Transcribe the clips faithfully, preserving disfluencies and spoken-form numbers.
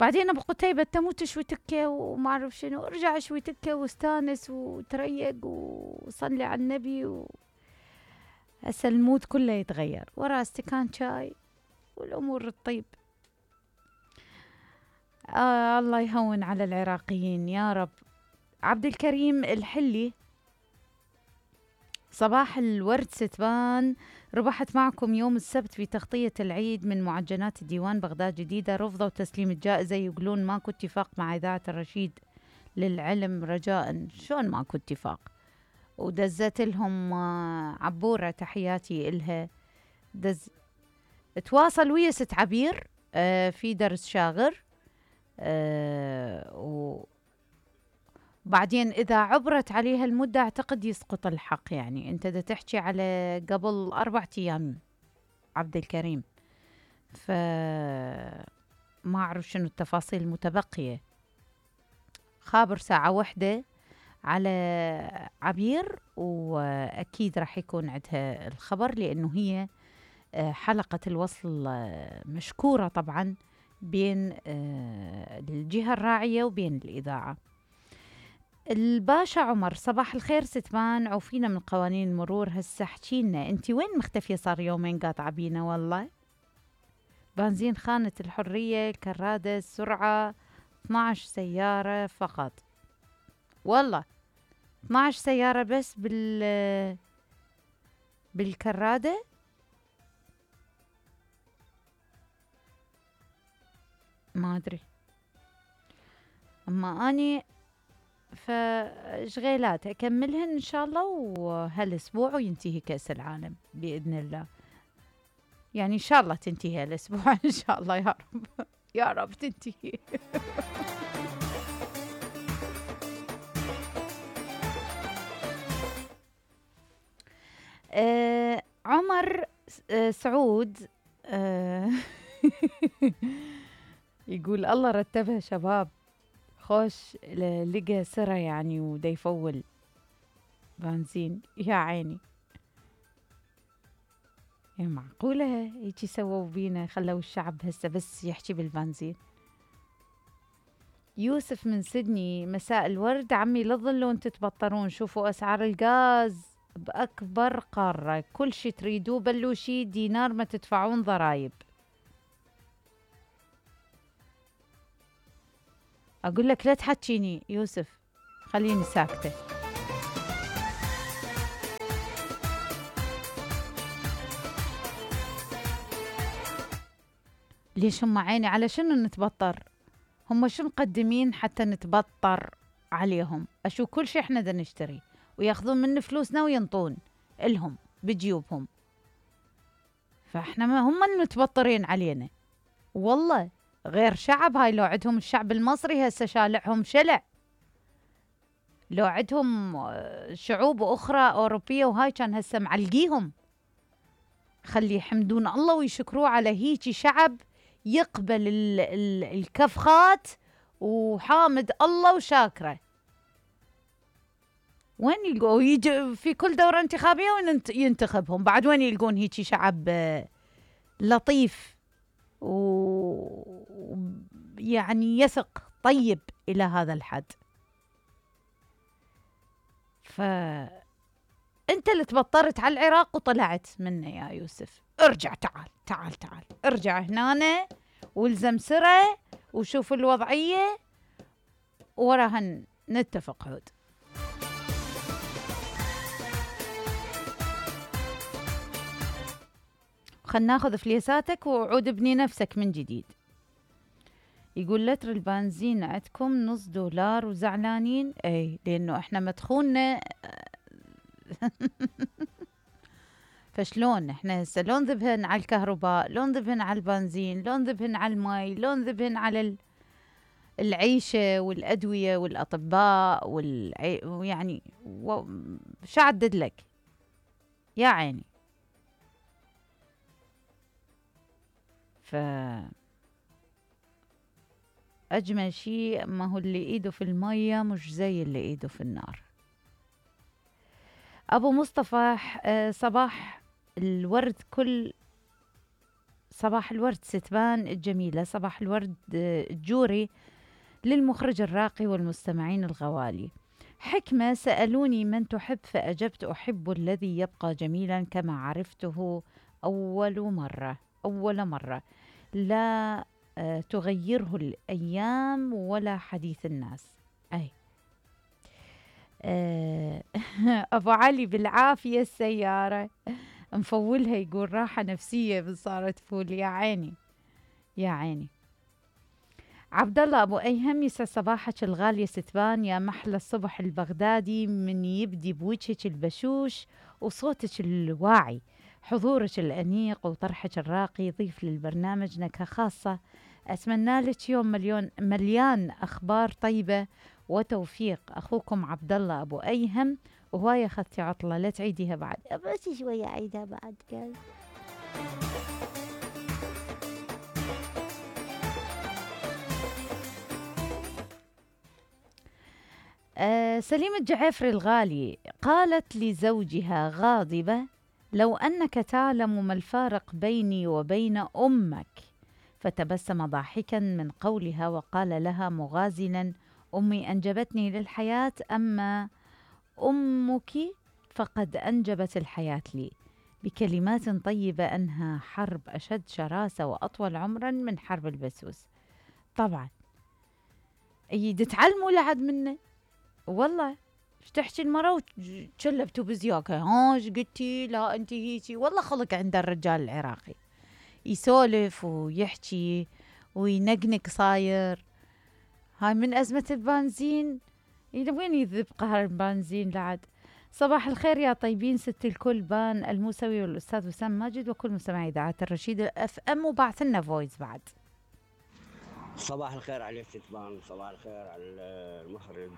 بعدين ابو قتيبة تموت شوي تكه وما اعرف شنو، ارجع شوي تكه واستانس وتريق وصلي على النبي و... هسه المود كله يتغير ورا استكان شاي والامور الطيب. آه الله يهون على العراقيين يا رب. عبد الكريم الحلي، صباح الورد ستبان، ربحت معكم يوم السبت في تغطية العيد من معجنات ديوان بغداد جديدة، رفضوا تسليم الجائزة، يقولون ماكو اتفاق مع إذاعة الرشيد للعلم رجاء. شلون ماكو اتفاق؟ ودزت لهم عبورة تحياتي إلها، دز تواصل ويا ست عبير آه في درس شاغر آه و بعدين إذا عبرت عليها المدة أعتقد يسقط الحق. يعني أنت دا تحكي على قبل أربعة أيام عبد الكريم، فما أعرف شنو التفاصيل المتبقية. خابر ساعة واحدة على عبير وأكيد راح يكون عندها الخبر، لأنه هي حلقة الوصل مشكورة طبعا بين الجهة الراعية وبين الإذاعة. الباشا عمر، صباح الخير ستمان، عوفينا من قوانين المرور. هسه احكينا انتي وين مختفية؟ صار يومين قاطعة بينا والله. بنزين خانة الحرية، الكرادة، السرعة اثناعش سيارة فقط والله، اثناعش سيارة بس بال بالكرادة. ما أدري، أما أني فشغيلات أكملهن إن شاء الله وهالأسبوع وينتهي كأس العالم بإذن الله. يعني إن شاء الله تنتهي هالأسبوع إن شاء الله يا رب يا رب تنتهي. آه عمر آه سعود آه يقول الله رتبها شباب، خوش لقى سرة يعني ودا يفول بنزين يا عيني. يا معقولة هيجي سووا بينا، خلوا الشعب هسه بس يحكي بالبنزين. يوسف من سيدني، مساء الورد عمي، لا تظلون تتبطرون، شوفوا أسعار الغاز بأكبر قارة، كل شي تريدوه بلوشي دينار ما تدفعون ضرايب. أقول لك لا تحكيني يوسف، خليني ساكتة. ليش هم عيني على شنو نتبطر؟ هم شو مقدمين حتى نتبطر عليهم؟ أشو كل شي احنا دا نشتري وياخذون من فلوسنا وينطون إلهم بجيوبهم، فاحنا ما هم المتبطرين علينا والله. غير شعب هاي، لو عندهم الشعب المصري هسه شالعهم شلع، لو عندهم شعوب أخرى أوروبية وهاي كان هسه معلقيهم. خلي يحمدون الله ويشكروه على هيجي شعب يقبل ال ال الكفخات وحامد الله وشاكره. وين يلقوا يجي في كل دورة انتخابية وين ينتخبهم بعد؟ وين يلقون هيجي شعب لطيف ويعني يثق طيب إلى هذا الحد؟ فأنت اللي تبطرت على العراق وطلعت منه يا يوسف. ارجع، تعال تعال تعال ارجع هنا والزم سرة وشوف الوضعية وراها نتفق عود. خلنا ناخذ فليساتك وعود ابني نفسك من جديد. يقول لتر البنزين عندكم نص دولار وزعلانين؟ اي لانه احنا مدخولنا فشلون احنا هسه لو نذبهن على الكهرباء، لو نذبهن على البنزين، لو نذبهن على المي، لو نذبهن على العيشة والأدوية والأطباء والعي... يعني و... شو عدد لك يا عيني. ف أجمل شيء ما هو اللي إيده في المية مش زي اللي إيده في النار. أبو مصطفى صباح الورد، كل صباح الورد ستبان الجميلة، صباح الورد آه، الجوري للمخرج الراقي والمستمعين الغوالي. حكمة: سألوني من تحب فأجبت أحب الذي يبقى جميلا كما عرفته أول مرة أول مرة لا آه، تغيره الأيام ولا حديث الناس. أي آه، أبو علي: بالعافية السيارة مفولها، يقول راحة نفسية بس صارت فول. يا عيني يا عيني. عبد الله ابو ايهم: يسعد صباحك الغاليه ستبان، يا محلى الصبح البغدادي من يبدي بوجهك البشوش وصوتك الواعي، حضورك الانيق وطرحك الراقي يضيف للبرنامج نكهه خاصه. اتمنى لك يوم مليون مليان اخبار طيبه وتوفيق. اخوكم عبد الله ابو ايهم. وهوايه اخذتي عطله، لا تعيديها بعد. بس شويه اعيدها بعد قال. آه سليم الجعفري الغالي: قالت لزوجها غاضبة: لو أنك تعلم ما الفارق بيني وبين أمك. فتبسم ضاحكا من قولها وقال لها مغازلا: أمي أنجبتني للحياة، أما أمك فقد أنجبت الحياة لي. بكلمات طيبة أنهى حرب أشد شراسة وأطول عمرا من حرب البسوس. طبعا يد تعلموا لعد منه والله. ايش تحكي المرة وتشلبتوا بزياكة؟ ها ايش قلتي؟ لا انت هيجي. والله خلق عند الرجال العراقي يسولف ويحكي وينقنق صاير. هاي من أزمة البنزين. إلى وين يذب قهر البنزين لعد؟ صباح الخير يا طيبين، ست الكل بان الموسوي والأستاذ وسام ماجد وكل مستمعي إذاعة الرشيد اف ام، وبعث لنا فويس بعد. صباح الخير عليك ستبان، صباح الخير على المخرج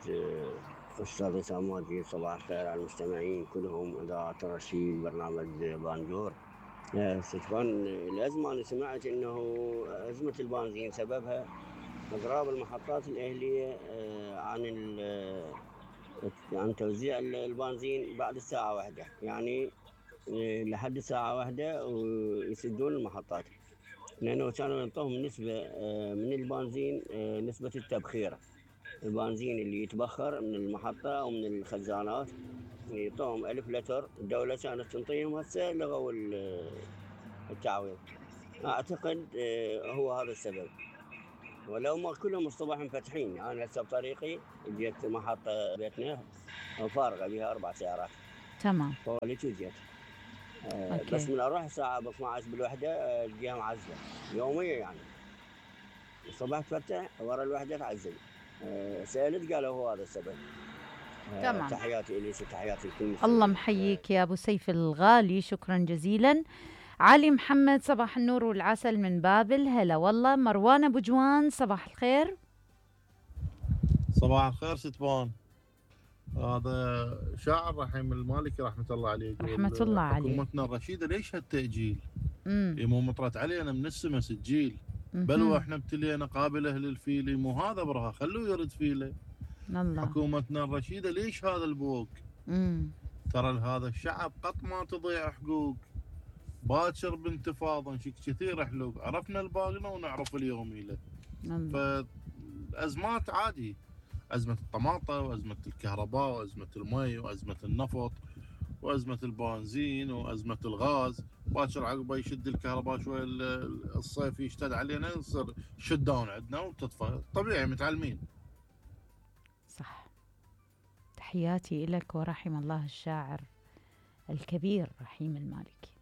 أستاذ وسام ماجد، صباح الخير على المستمعين كلهم إذاعة الرشيد برنامج بانجور. ستبان، الأزمة أنا سمعت إنه أزمة البنزين سببها إضراب المحطات الأهلية عن عن توزيع البنزين بعد الساعة واحدة، يعني لحد الساعة واحدة ويسدون المحطات، لأنه كانوا ينطوهم نسبة من البنزين، نسبة التبخير، البنزين اللي يتبخر من المحطة أو من الخزانات يعطوهم ألف لتر، الدولة كانت تنطيهم، هسه لغوا التعويض. أعتقد هو هذا السبب، ولو ما كلهم الصبح مفتحين. أنا هسه بطريقي جيت محطة بيتنا فارغة بها أربع سيارات. تمام. فوليت وجيت أه بس من أروح الساعة ب اثنعش بالوحدة الجهة معزلة يومية، يعني الصبح تفتح ورا الوحدة تعزل. أه سألت قالوا هو هذا السبب. أه تمام. تحياتي إليس، تحياتي لكل. الله محييك يا أبو سيف الغالي، شكرا جزيلا. علي محمد: صباح النور والعسل من بابل. هلا والله. مروان أبو جوان: صباح الخير. صباح الخير ستبان. هذا شاعر رحيم المالكي رحمة الله عليه، رحمة الله عليه: حكومتنا الرشيدة ليش هالتأجيل؟ امم مو مطرت علينا من السما سجيل، بل واحنا ابتلينا قابل اهل الفيل، مو هذا برها خلوه يرد فيله. الله. حكومتنا الرشيدة ليش هذا البوق؟ امم ترى لهذا الشعب قط ما تضيع حقوق، باكر بانتفاضه نشك كثير حلوق، عرفنا الباقنا ونعرف اليومي له. فالأزمات عادي، أزمة الطماطة وأزمة الكهرباء وأزمة المي وأزمة النفط وأزمة البنزين وأزمة الغاز، باكر عقبه يشد الكهرباء شوي الصيف يشتد علينا يصير شت داون عندنا وتطفى، طبيعي متعلمين. صح. تحياتي لك ورحم الله الشاعر الكبير رحيم المالكي.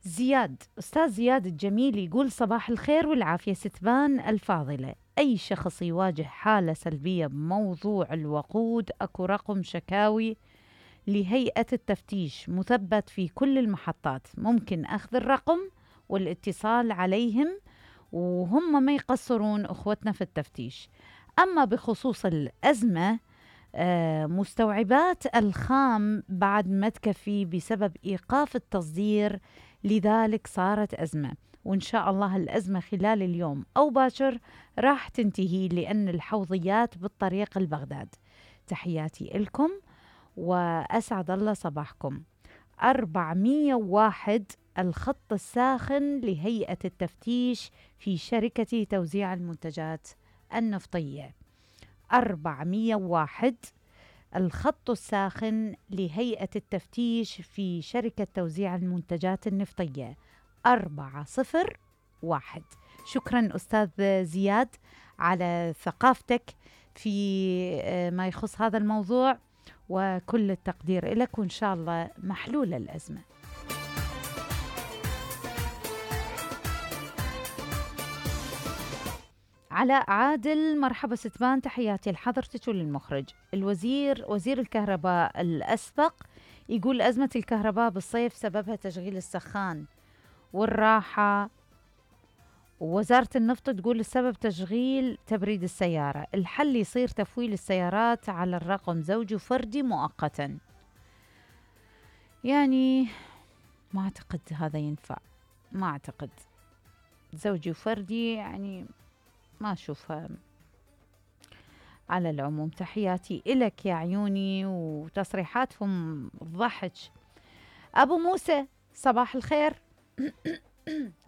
زياد، أستاذ زياد الجميل يقول: صباح الخير والعافية ستبان الفاضلة، أي شخص يواجه حالة سلبية بموضوع الوقود أكو رقم شكاوي لهيئة التفتيش مثبت في كل المحطات، ممكن أخذ الرقم والاتصال عليهم وهم ما يقصرون أخوتنا في التفتيش. أما بخصوص الأزمة، آه مستوعبات الخام بعد ما تكفي بسبب إيقاف التصدير، لذلك صارت أزمة، وإن شاء الله الأزمة خلال اليوم أو باكر راح تنتهي، لأن الحوضيات بالطريق البغداد. تحياتي لكم وأسعد الله صباحكم. أربعمية وواحد الخط الساخن لهيئة التفتيش في شركة توزيع المنتجات النفطية. أربعمية وواحد، الخط الساخن لهيئة التفتيش في شركة توزيع المنتجات النفطية. أربعة صفر واحد. شكرا أستاذ زياد على ثقافتك في ما يخص هذا الموضوع، وكل التقدير لك، وإن شاء الله محلول الأزمة. علاء عادل، مرحبا ستبان، تحياتي لحضرتك وللمخرج. الوزير وزير الكهرباء الأسبق يقول أزمة الكهرباء بالصيف سببها تشغيل السخان والراحة، ووزارة النفط تقول السبب تشغيل تبريد السيارة. الحل يصير تفويل السيارات على الرقم زوجي وفردي مؤقتا. يعني ما أعتقد هذا ينفع، ما أعتقد زوجي وفردي، يعني ما أشوفها. على العموم تحياتي إلك يا عيوني، وتصريحاتهم ضحك. أبو موسى صباح الخير.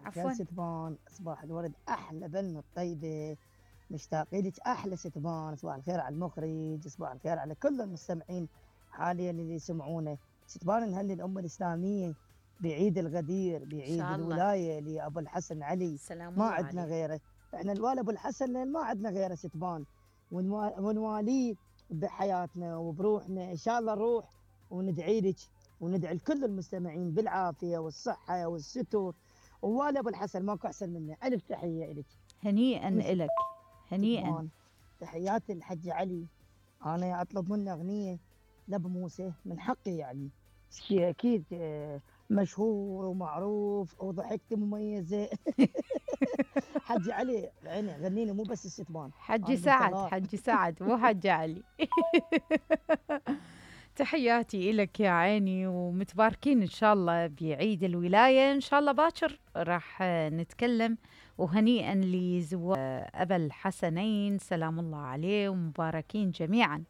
عفوا ستبان، صباح الورد، أحلى بنت طيبة، مشتاقين لك. أحلى ستبان، صباح الخير على المخرج، صباح الخير على كل المستمعين حاليا اللي يسمعونه. ستبان نهني الأمة الإسلامية بعيد الغدير، بعيد الولاية لأبو الحسن علي، ما عندنا غيره. احنا الوالي ابو الحسن ما عندنا غيره ستبان، ونواليه بحياتنا وبروحنا. ان شاء الله نروح وندعي لك وندعي لكل المستمعين بالعافيه والصحه والستر. ووالي ابو الحسن ماكو احسن منه. الف تحيه لك. هنيئا لك، هنيئا. تحياتي الحج علي. انا اطلب منه اغنيه لابو موسى، من حقي يعني، اكيد مشهور ومعروف وضحكتي مميزه. حج علي عيني غنيني، مو بس الستبان. حج سعد، حج سعد مو حج علي. تحياتي إلك يا عيني، ومتباركين إن شاء الله بعيد الولاية. إن شاء الله باكر راح نتكلم. وهنيئا لزوار أبا الحسنين سلام الله عليه، ومباركين جميعا.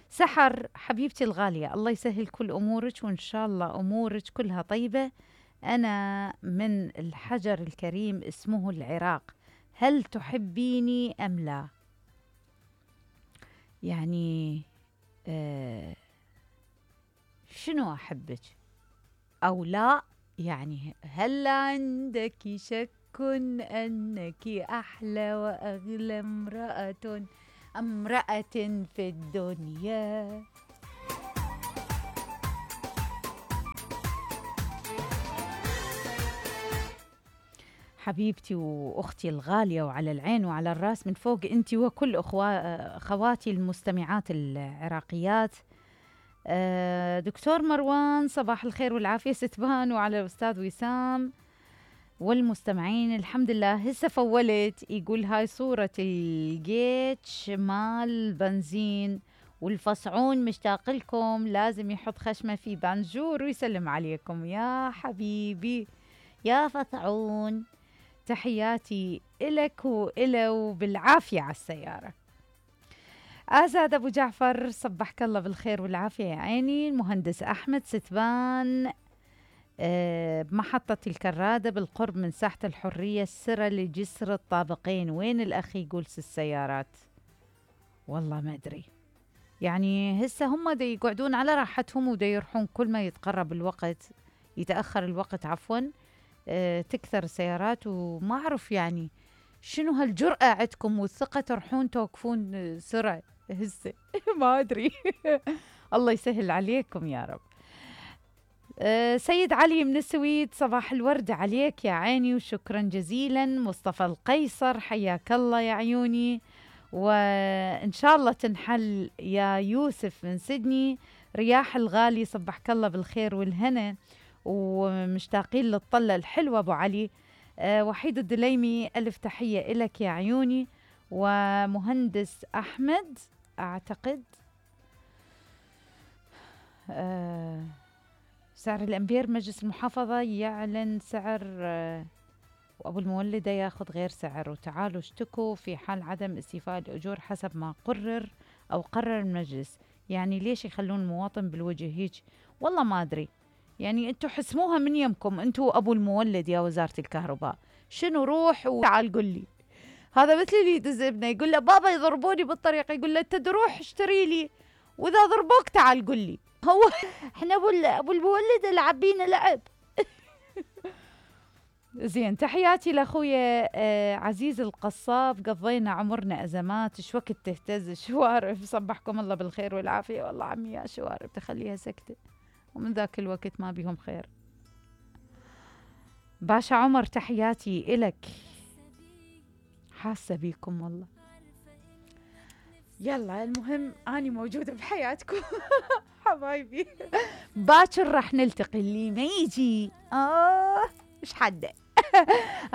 سحر حبيبتي الغالية، الله يسهل كل أمورك، وإن شاء الله أمورك كلها طيبة. أنا من الحجر الكريم اسمه العراق، هل تحبيني أم لا؟ يعني آه شنو أحبك أو لا؟ يعني هل عندك شك أنك أحلى وأغلى امرأة امرأة في الدنيا؟ حبيبتي وأختي الغالية، وعلى العين وعلى الراس من فوق أنت وكل أخواتي المستمعات العراقيات. دكتور مروان صباح الخير والعافية ستبان، وعلى الأستاذ وسام والمستمعين. الحمد لله هسه فولت. يقول هاي صورة الجيتش مال بنزين والفصعون مشتاق لكم، لازم يحط خشمه في بانجور ويسلم عليكم. يا حبيبي يا فصعون، تحياتي إلك وإله وبالعافية على السيارة. آزاد أبو جعفر صبحك الله بالخير والعافية يا عيني. المهندس أحمد ستبان أه بمحطة الكرادة بالقرب من ساحة الحرية، السرة لجسر الطابقين. وين الأخ يقول السيارات؟ والله ما أدري، يعني هسه هم دا يقعدون على راحتهم ودا يروحون كل ما يتقرب الوقت، يتأخر الوقت عفوا، أه تكثر السيارات. وما أعرف يعني شنو هالجرأة عندكم والثقة تروحون توقفون سرعة هسه. ما أدري. الله يسهل عليكم يا رب. أه سيد علي من السويد صباح الورد عليك يا عيني، وشكرا جزيلا. مصطفى القيصر حياك الله يا عيوني، وإن شاء الله تنحل. يا يوسف من سيدني رياح الغالي صبحك الله بالخير والهنا، ومشتاقين للطلة الحلوة أبو علي. أه وحيد الدليمي ألف تحية إلك يا عيوني. ومهندس أحمد أعتقد أه سعر الأمبير مجلس المحافظة يعلن سعر أه وأبو المولدة ياخذ غير سعر، وتعالوا اشتكوا في حال عدم استيفاء الأجور حسب ما قرر أو قرر المجلس. يعني ليش يخلون المواطن بالوجه هيك؟ والله ما أدري. يعني انتوا حسموها من يمكم، انتوا ابو المولد يا وزارة الكهرباء. شنو روح وتعال قل لي. هذا مثل اللي يدز ابنه يقول له بابا يضربوني بالطريق، يقول له انت تروح اشتري لي، واذا ضربوك تعال قل لي. هو احنا ابو ابو المولد العب بينا لعب. زين، تحياتي لاخويا آه عزيز القصاب. قضينا عمرنا ازمات، ايش وقت تهتز الشوارب. صبحكم الله بالخير والعافيه. والله عمي يا شوارب تخليها سكته، ومن ذاك الوقت ما بيهم خير. باشا عمر تحياتي إلك، حاسة بيكم والله. يلا المهم أني موجودة بحياتكم. حبايبي باكر راح نلتقي، اللي ما يجي آه إيش حده.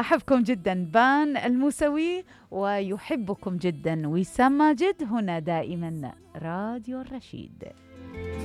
أحبكم جدا. بان الموسوي ويحبكم جدا وسام ماجد، هنا دائما راديو الرشيد.